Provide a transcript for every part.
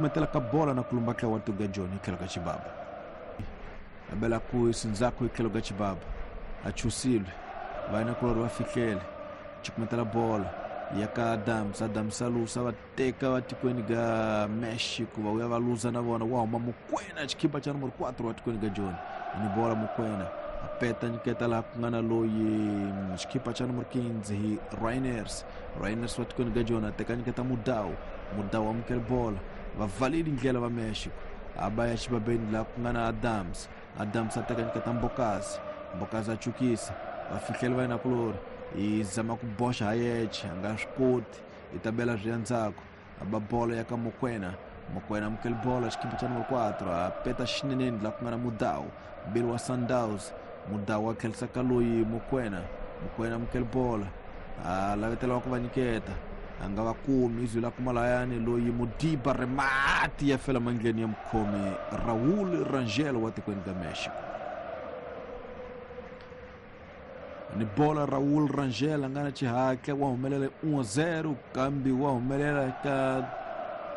Metela ka bola na kulumba ka watu ga Joni tlhelo ka xibaba. A bela ku sindzhaku hi tlhelo ka xibaba. A chusilwe. Vayinakulorhi va fihlele. Cukumetela bola ya ka Adams. Adams a lusa va teka va tikweni ga Mexico va vuya va luza na vona wa huma Mokwena xikhipa xa numero 4 wa tikweni ga Joni. Ni bola Mokwena a peta nyiketa laha ku nga na loyi xikhipa xa numero 15 hi Reiners. Reiners wa tikweni ga Joni a teka nyiketa Mudau. Mudau amukela bola. Va pfaleli ndlela va Mexico. A ba ya xibabeni laha ku nga na Adams. Adams a teka nyiketa Mbokazi. Mbokazi a chukisa. Va fihlela vayinakulorhi. Yi zama ku boxa ha yexe a nga swi koti. Yi ta bela swi ya ndzhaku. A ba bolo ya ka Mokwena. Mokwena amukela bolo xikhipa xa numero 4 a peta xineneni laha ku nga na Mudau. Mbirhi wa Sundowns. Mudau a tlherisa ka loyi Mokwena. Mokwena amukela bola. A lavetela wa ku va nyiketa. A nga va kumi izwi la kuma layani loyi Modiba Remati ya fela mandleni ya mukhomi Raul Rangel wa tikweni ka Mexico. Ni bola Raul Rangel a nga na xihatla wa humelela 1-0 kambe wa humelela ka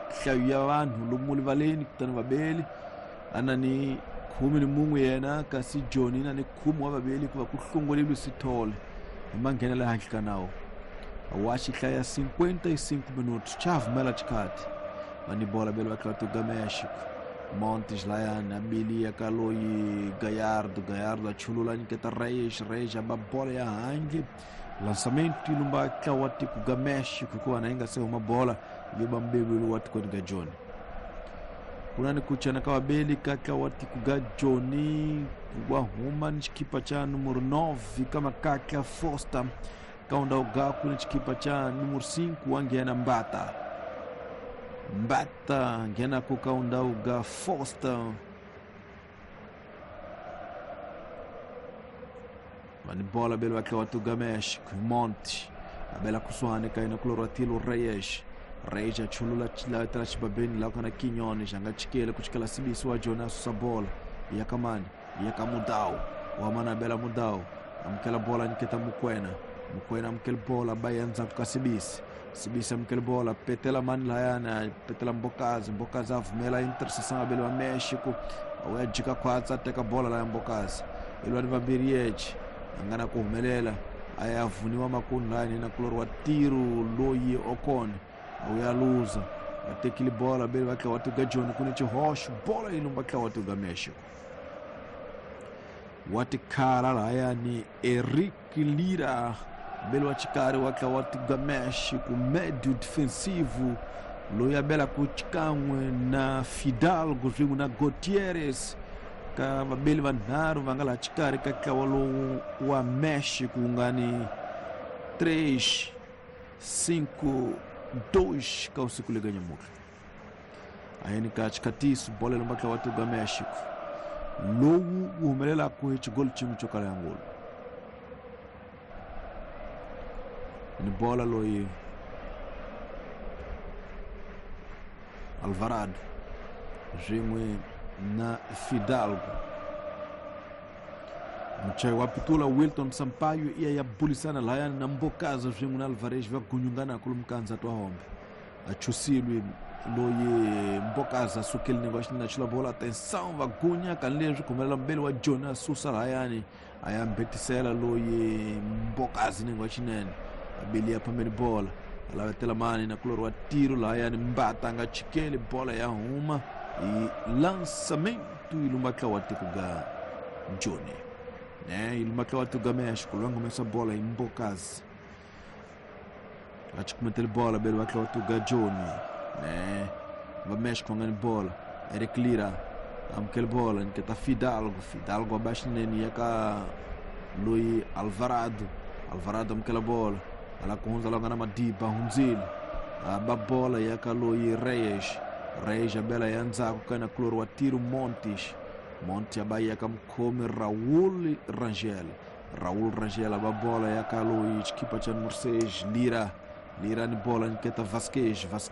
nhlayo ya vanhu lomu rivaleni kutani vabeli a na ni khume ni mun'we yena kasi Joni na ni khume wa vaveli ku va ku hlongoleliwe Sithole hi manghenela ehandle ka nawu wa xihlaya 55 minutos chavumela xikhathi va ni bola beli va tlula Mexico Montes layani a biliya ka loyi Gallardo. Gallardo a chulula nyiketa Reyes. Reyes a ba bola ya handle. Lançamento yi lumba ntlawa wa tiko ga Mexico hikuva na yi nga se huma bola yo ba mbeveli wa tikweni ga Joni. Ku na ni ku chana ka vabeli ka ntlawa wa tiko ga Joni wa huma ni xikhipa xa numero 9 ka Makatla Foster ka undhawu gaku ni xikhipa xa numero 5 wa nghena Mbata. Mbata nghenaku ka undhawu ga Foster. Va ni bola beli va tlhela va tuga Mexico Monte a bela kusuhani ka yena kulorwa Tilo Reyes. Reyes a chulula lavetela xibabeni laha ku nga na Quiñones a nga chikeli ku chikela Sibisi wa Joni a susa bola ya ka mani ya ka Mudau wa mana a bela Mudau amukela bola nyiketa Mokwena. Mokwena amukela bola ba ya ndzhaku ka Sibisi. Sibisi amukela bola petela mani layani petela Mbokazi. Mbokazi a vumela intercessão abeli wa Mexico a wuya jika khwatsa a teka bola laya Mbokazi i lwa ni vambirhi yexe a nga na ku humelela a ya vuniwa makunu layani na kulori wa tiro loyi Okon a wuya luza va tekile bola beli va tlhela wa tuga Joni ku ni xihoxo bola yi lumba tlhela wa tuga Mexico wa tikhala lahayani Eric Lira beli wa xikarhi wa tlhela wa tuga Mexico médio defensivo loyi a belaka xikan'we na Fidalgo swin'we na Gutierrez ka vabeli vanharhu va nga laha xikarhi ka ntlawa lowu wa Mexico wu nga ni 3 5 2 ka usiku lega nyamutlha a yeni ka xikhatiso bolo lomba ntlawa wa tuga Mexico lowu wu humelelaka hi xigolo xin'we xo kala ya ngolo ni bola loyi Alvarado swin'we na Fidalgo. Muchayi wa pitula Wilton Sampaio iya ya bulisana layani na Mbokazi swin'we na Alvarez va gunyungana kulu mukandza twa hombe a chusilwe loyi Mbokazi a sukile ni va xinena chula bola atenção va gunya kani leswi khumelela mbeli wa Joni a susa layani a ya mbetisela loyi Mbokazi ni wa xinene a beli ya phambeni bola a lavetela mani na kulori wa tiro layani Mbata a nga chikeli bola ya huma hi lançamento yi lumba ntlawa wa tiko ga Joni ne yi lumba ntlawa wa tiko ga Mexico loyi a nga humesa bola hi Mbokazi a chikumetele bola beli va ntlawa wa tiko ga Joni ne va Mexico va nga ni bola Eric Lira amukele bola nyiketa Fidalgo. Fidalgo a ba xinene ya ka loyi Alvarado. Alvarado amukela bola ala ku hundza la nga na Madiba hundzile a ba bola ya ka loyi Reyes. Reyes a bela ya ndzhaku ka na kulori wa tiro Montes. Montes a ba ya ka mukhomi Raul Rangel. Raul Rangel a ba bola ya ka loyi xikhipa xa numero 6 Lira. Lira ni bola nyiketa Vasquez. Vasquez